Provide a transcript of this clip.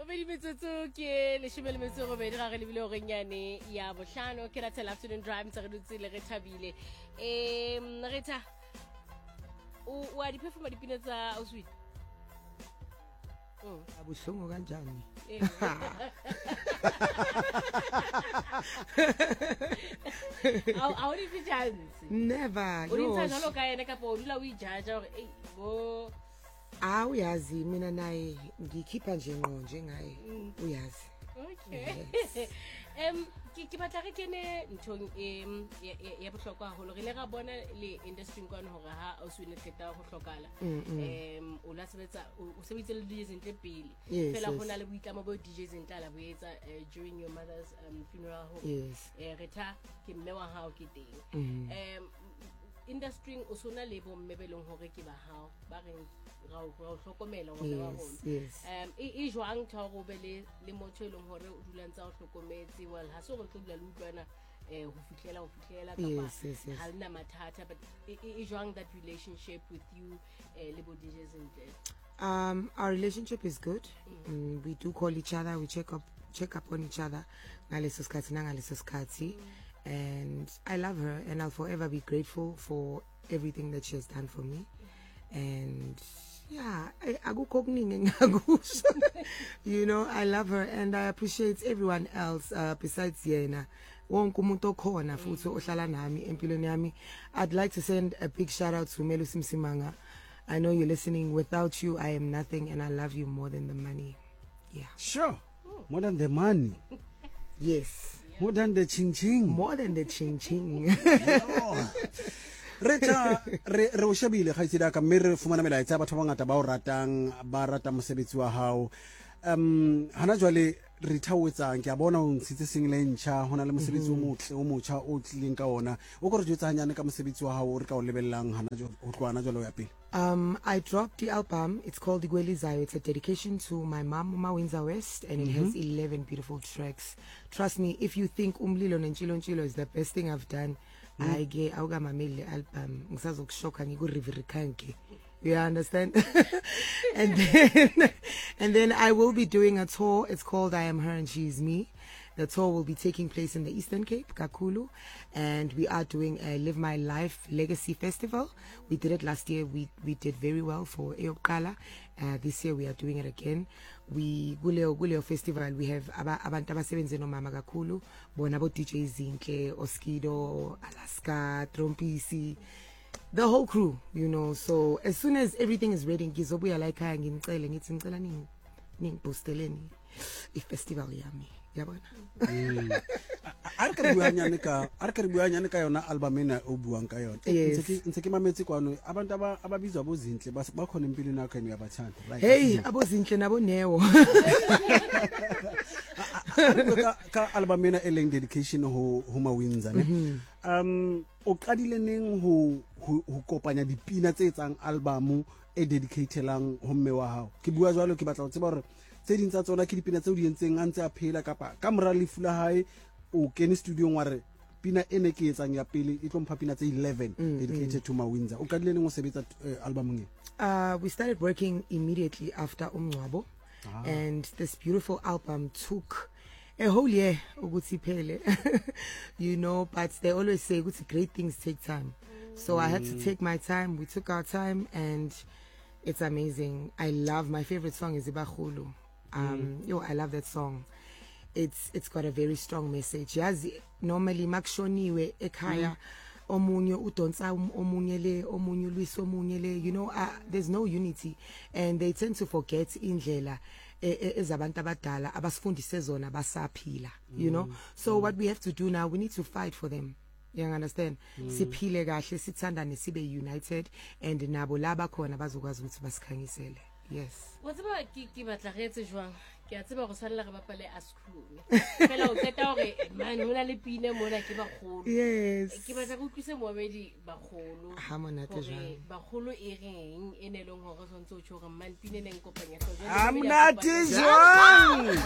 Bobedi metsotso ke 18 ga re lebile goreng yane ya bohlano ke Rathela Afternoon Drive ntse re dutse le re thabile. Retha o a di performa dipina tsa Oswin? Abuhlungu kanjani? A o di fe chance? Never. O di ntsha jalo ka ene kapa o dula o ijaja gore ei bo Ah, uyazi mina naye ngikhipha nje ngqo njengaye, uyazi. Okay. Ke batla re kene nthong e ya bohlokwa haholo. Re ile ra bona le industry kwano hore ha Oswin qeta ho hlokala, o la sebetsa, o sebeditse le DJ Zinhle pele. Fela ho na le boitlamo bo DJ Zinhle la bo etsa during your mother's funeral hore Retha ke mme wa hao ke teng. Industry o sona le bo mme be leng hore ke ba hao ba reng ra o hlokomela ngwana wa rona. E jwang tha hore o be le motho e leng hore o dula ntse a o hlokometse? Well, ha se hore tlo dula le utlwana ho fihlela kapa ha lena mathata, but e jwang that relationship with you le bo DJ Zinhle? Our relationship is good. We do call each other, we check up on each other ngaleso sikhathi nangaleso sikhathi. And I love her and I'll forever be grateful for everything that she has done for me. And yeah, akukho okuningi engingakusho. You know, I love her and I appreciate everyone else besides yena. Wonke umuntu okhona futhi ohlala nami empilweni yami. I'd like to send a big shout out to Melusi Msimanga. I know you're listening. Without you, I am nothing, and I love you more than the money. Yeah. Sure. More than the money. Yes. More than the ching ching. More than the ching ching. Retha re o shebile kgaitsedi ka mme re fumana melaetsa ya batho ba bangata ba o ratang, ba rata mosebetsi wa hao. Hana jwale Retha o etsang? Ke a bona o ntshitse single e ntjha, ho na le mosebetsi o motle o motjha o tlileng ka ona. O ko re jwetsa hanyane ka mosebetsi wa hao o re ka o lebellang hana jwale, ho tloha hana jwale ho ya pele. I dropped the album. It's called Igwelizayo. It's a dedication to my mom, Mama Windsor West, and it has 11 beautiful tracks. Trust me, if you think Umlilo Nentshilo Ntshilo is the best thing I've done, I get awukamameli le album. Ngisazokushoka ngikurivirikanke. You understand? And then I will be doing a tour. It's called I Am Her and She Is Me. The tour will be taking place in the Eastern Cape, Kakulu, and we are doing a Live My Life Legacy Festival. We did it last year. We did very well for Eyokala. This year we are doing it again. We Guleo Festival, we have abantu abasebenze nomama kakhulu, bona bo DJ Zinhle, Oskido, Alaska, Trompisi, the whole crew, you know. So as soon as everything is ready, ngizobuya la ekhaya nginicele ngithi ngicela ningiboosterleni i-festival yami. Yabona? A re ka re bua nyane ka yona album ena o buang ka yona. Ntse ke mametse kwano abantu ababizwa boZinhle ba khona empilweni yakho ene uyabathanda. Right. Hey, aboZinhle nabo Neo. Ka album ena e leng dedication ho Mawinza ne. O qadile neng ho kopanya dipina tse etsang album e dedicatelang ho mme wa hao? Ke bua jwalo ke batla ho tseba hore tse ding tsa tsona ke dipina tseo di entseng a ntse a phela kapa ka mora lefu la hae o kene studiong wa re pina e ne ke etsang ya pele e tlo mpha pina tse 11 dedicated to Mawinza. O qadile neng o sebetsa albumong e? We started working immediately after umngcwabo. And this beautiful album took a whole year ukuthi iphele. You know, but they always say ukuthi great things take time. So I had to take my time. We took our time and it's amazing. I love, my favorite song is Ibakhulu. Yo, I love that song. It's got a very strong message. Yazi normally makushoniwe ekhaya omunye udonsa omunye le, omunye ulwisa omunye le, you know, there's no unity and they tend to forget indlela ezabantu abadala abasifundise zona basaphila, you know. So what we have to do now, we need to fight for them. You understand? Siphile kahle, sithandane, sibe united, and nabo laba khona bazokwazi ukuthi basikhanyisele. Yes. Wa tseba ke batla re etse jwang? Ke a tseba go tshwanela re bapale Askhulume. Fela o qeta hore man ho na le pina mona ke bagolo. Yes. Ke batla go utlwise moamedi bagolo. Ha monate jwang? Bagolo e reng e ne leng hore tshwantse o tjho hore man pina e neng kopanya hlooho. Ha monate jwang?